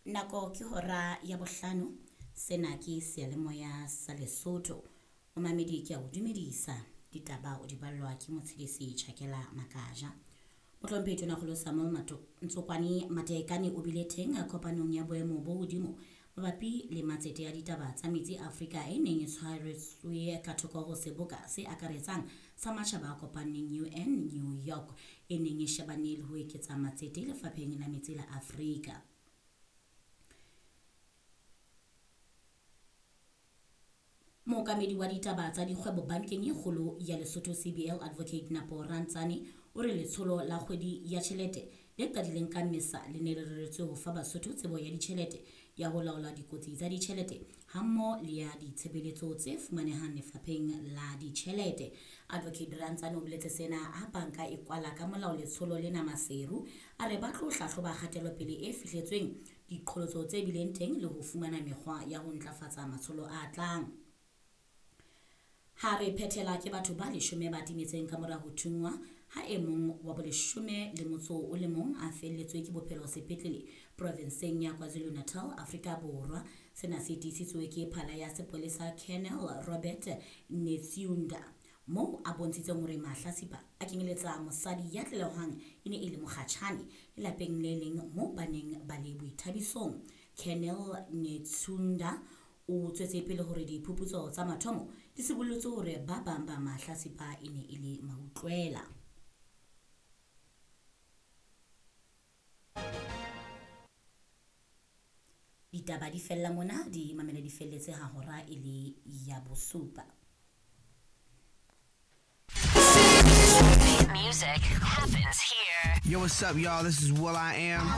Nako ke hora ya bohlano. Sena ke seyalemoya sa Lesotho. Momamedi ke a o dumedisa. Ditaba o di ballwa ke Motshedisi Chakela Makaja. Mohlomphehi Tonakgolo Samuel Ntsokwane Matekane o bile teng kopanong ya boemo bo hodimo mabapi le matsete a ditaba tsa metsi Afrika e neng e tshwaretswe ka thoko ho seboka se akaretsang sa matjhaba a kopaneng UN New York e neng e shebane le ho eketsa matsete lefapheng la metsi la Afrika. Mookamedi wa ditaba tsa dikgwebo bankeng e kgolo ya Lesotho CBL Advocate Napo Rantsane o re letsholo la kgwedi ya tjhelete le qadileng ka Mmesa le ne le reretswe ho fa Basotho tsebo ya ditjhelete ya ho laola dikotsi tsa ditjhelete hammoho le ya ditshebeletso tse fumanehang lefapheng la ditjhelete. Advocate Rantsane o boletse sena ha banka e kwala ka molao letsholo lena Maseru a re ba tlo hlahloba kgatelopele e fihletsweng diqholotso tse bileng teng le ho fumana mekgwa ya ho ntlafatsa matsholo a tlang. Ha re phethela ke batho ba leshome ba timetseng ka mora ho thunngwa ha e mong wa boleshome le motso o le mong a felletswe ke bophelo sepetlele provenseng ya KwaZulu-Natal, Afrika Borwa. Sena se tiisitswe ke phala ya sepolesa Colonel Robert Netshiunda moo a bontshitseng hore mahlasipa a kenyeletsa mosadi ya tlelehwang e ne e le mokgatjhane lelapeng le leng moo ba neng ba le boithabisong. Colonel Netshiunda o tswetse pele hore diphuputso tsa mathomo di sibollotse hore ba bang ba mahlasipa e ne e le mautlwela. Ditaba di fella mona di mamele di felletse ha hora e le ya bosupa. Music happens here. Yo, what's up, y'all? This is Will I Am.